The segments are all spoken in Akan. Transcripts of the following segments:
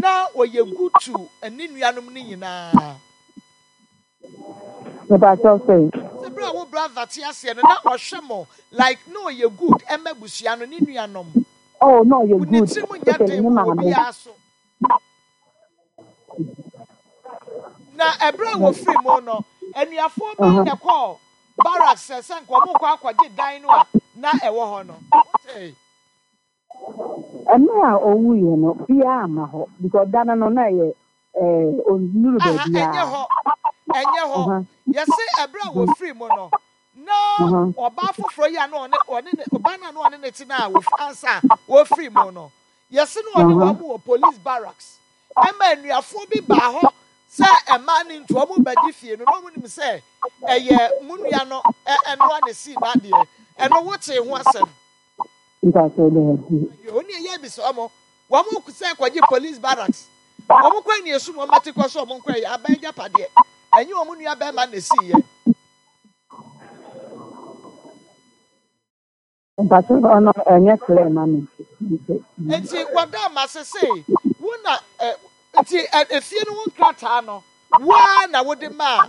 na ɔyɛ good to ne nuanom no nyinaa? Mepakyɛw sɛn? Sɛ berɛ a wo brother te aseɛ no na ɔhwɛ mo like na ɔyɛ good ɛma abusua no ne nuanom. Oh na ɔyɛ Wo ne good tirim nyɛ especially den ne wɔ maame. obiara so. Na ɛberɛ a wɔfiri mu no, anuafoɔ bɛn na ɛkɔɔ barracks sɛ sɛ nka wɔrekɔ akɔgye dan no a na ɛwɔ hɔ no? Wotee? Mmerɛ a ɔwuiɛ no, biara amma hɔ because da no no na ɛyɛ eh, ɔnnuru Aha, ɛnyɛ baabiara. hɔ, ɛnyɛ hɔ. Yɛse ɛberɛ a wɔfiri mu no, na ɔbaa foforɔ yi a na ɔne ɔne ne ɔbaa no a na ɔne ne te no a wɔf ansa a wɔfiri mu no, yɛse na ɔne wɔn wɔ police barracks. Ɛma anuafoɔ bi baa hɔ sɛ mmaa no nti wɔn rebɛgye fie no, na wɔn nim sɛ ɛyɛ mo nua no ɛnoa na esii n'adeɛ. Ɛno wotee ho asɛm? Mpakyɛw daabi. Ayo, onii ɛyɛ bisa wɔn, wɔn sɛ kɔgye police barracks. Wɔn kɔ ani esum wɔn ati kɔ so wɔn nkɔ ɛyɛ aban agyapadeɛ. Ɛnyɛ wɔn nua bɛrima na esii yɛ. Mpakyɛw ɔno ɛnyɛ clear ma me nti. Nti wɔda ma sesei wo na ɛ nti ɛ efie no ho nkrataa no wo ara na wode maa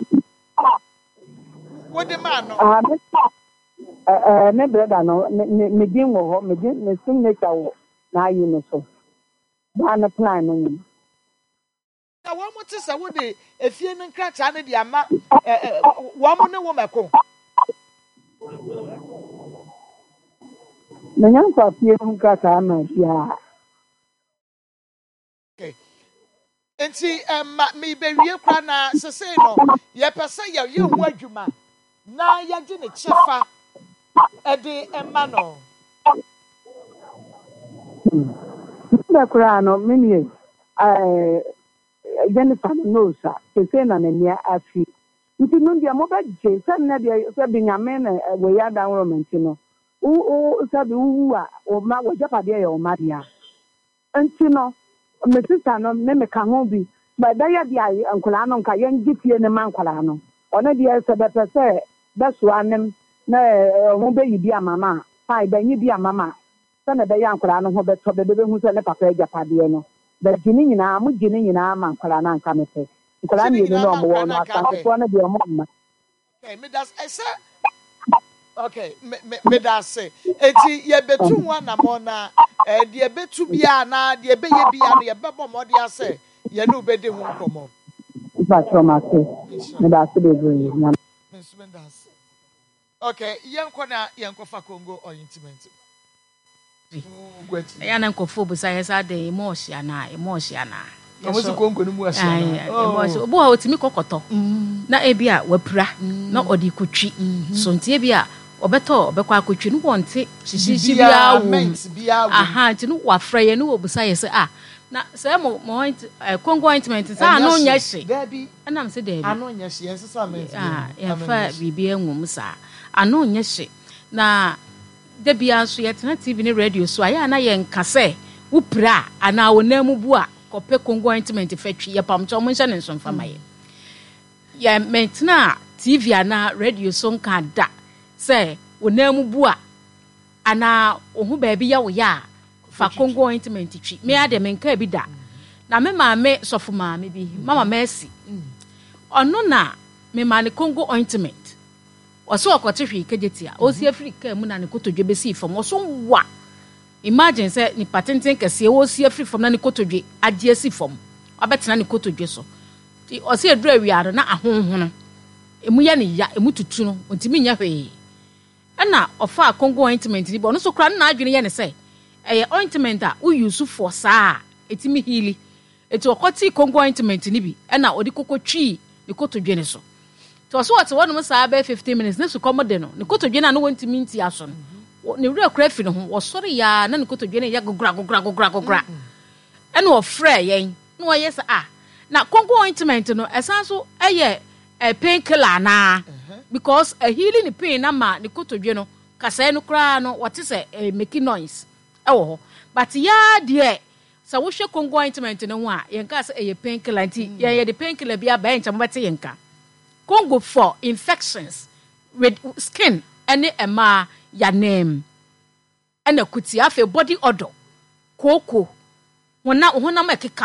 wode maa no. Ah me ɛ ɛ me brɛda no me me me din wɔ hɔ me din me signature wɔ n'ayi no so daa no plan no nyina. Na wɔn te sɛ wode efie no nkrataa no de ama ɛ ɛ wɔn ne wo mɛko. Menya mfa fie no nkrataa ma biara. Okay. Nti ɛma mebewie koraa na sesei no yɛpɛ sɛ yɛyɛ ho adwuma na yɛgye ne kyɛfa ɛde ɛma no. Mebɛ koraa no me nie ɛɛ Jennifer no nose a sesei na n'ani afi nti no deɛ mobɛgye sɛ nnɛ deɛ sɛ bi Nyame na wei adanworoma nti no wo wo sɛ bi wowu a wo mma w'agyapadeɛ yɛ wo mma dea. Nti no me sister no me meka ho bi ma ɛbɛyɛ deɛ a nkwadaa no nka yɛngye fie no ma nkwadaa no ɔno deɛ sɛ bɛpɛ sɛ bɛsoa nem na ɔmo bɛyi bi ama ma a fine bɛnye bi ama ma sɛnea ɛbɛyɛ a nkwadaa no ho bɛtɔ bɛ bɛbɛhu sɛ ne papa agyapadeɛ no bɛgye ne nyinaa mo gye ne nyinaa ma nkwadaa no anka mepɛ nkwadaa Gye ne mmienu nyinaa no ma ɔmo wɔ nkwadaa no no anka apɛ. asantefoɔ no deɛ ɔmo mma. Okay, me da sɛ okay me me me da ase. Eti yɛbɛtu ho anamɔ na eh, deɛ ɛbɛtu biara na deɛ ɛbɛyɛ biara no yɛbɛbɔ mmɔden asɛ yɛne wo bɛdi ho nkɔmmɔ. Mpakyɛw mate. Nhyira. Meda ase bebree. Nyame. Me nso meda ase. Okay, yɛnkɔ na yɛnkɔfa Congo ointment. Ɛyɛ a na nkurɔfoɔ bisa yɛ sɛ adɛn emu ɔhye anaa emu ɔhye anaa. Wɔn si konko no mu ɔhye anaa. Emu ɔhye obi wɔ hɔ otumi kɔkɔtɔ mm. na ebi a wapira mm. na ɔde kotwi mm-hmm. so nti ebi a ɔbɛtɔ ɔbɛkɔ akotwi no wɔnte hyehyehye biara wɔ mu aha nti no wafrɛ yɛ no wɔbusa yɛ sɛ ah na sɛ mo mo oint eh, konko ointment sɛ ano nyɛ hye ɛnam sɛ daabi ano nyɛ hye yɛn sesa mint ah, yɛmfa biribi angu mu saa ano nyɛ hye na Da biara nso yɛtena TV ne radio so a, ɛyɛ a na yɛnka sɛ wopira a anaa wo nan mu bu a, kɔpɛ Congo ointment fa twi. Yɛpam kyɛw, monhyɛ no nso mfa ma yɛn. Yɛ mentenaa TV anaa radio so nka da sɛ wo nan mu bu a anaa wo ho baabi yɛ wo ya a, fa Congo ointment twi. Me ara deɛ menkaa bi da. Na me maame sɔfo maame bi, Mama Mercy, ɔno na mema ne Congo ointment. Ɔse ɔkɔte hwee kegyetia ɔresi afiri kaa mu na ne kotodwe bɛsii fam ɔso wa imagine sɛ nipa tenten kɛseɛ ɔresi afiri fam na ne kotodwe agye asi fam wabɛtena ne kotodwe so nti ɔse ɛduru awia no na ahonhono emu yɛ ne ya emu tutu no ɔntumi nyɛ hwee ɛna ɔfaa Congo ointment no bi ɔno nso koraa no n'adwene yɛ ne sɛ ɛyɛ ointment a wo use for saa a ɛtumi heali Enti ɔkɔtee Congo ointment no bi na ɔde kɔkɔtwii ne kotodwe no so. Nti ɔse ɔte hɔnom saa bɛyɛ 15 minutes na sukɔm de no, ne kotodwe no a na wɔntumi ntia so no, ne werɛ kora fi ne ho. Wɔsɔre yɛ a na ne kotodwe no yɛ gogora gogora gogora gogora. Ɛna ɔfrɛɛ yɛn na ɔyɛ sɛ ah, na Congo ointment no ɛsan so ɛyɛ eh, pain killer anaa? Because ɛheali ne pain na ma ne kotodwe no kasɛɛ no koraa no wɔte sɛ eh, making noise ɛwɔ hɔ. But yaa deɛ Sɛ wohwɛ Congo ointment no ho a, yɛnkaa sɛ ɛyɛ pain killer nti yɛn yɛde pain killer bi aba ɛnkyɛ mobɛte yɛn nka. Congo for infections with skin ɛne mmaa yanam ɛna kuti afei body odor, kooko, honam honam ɛkeka.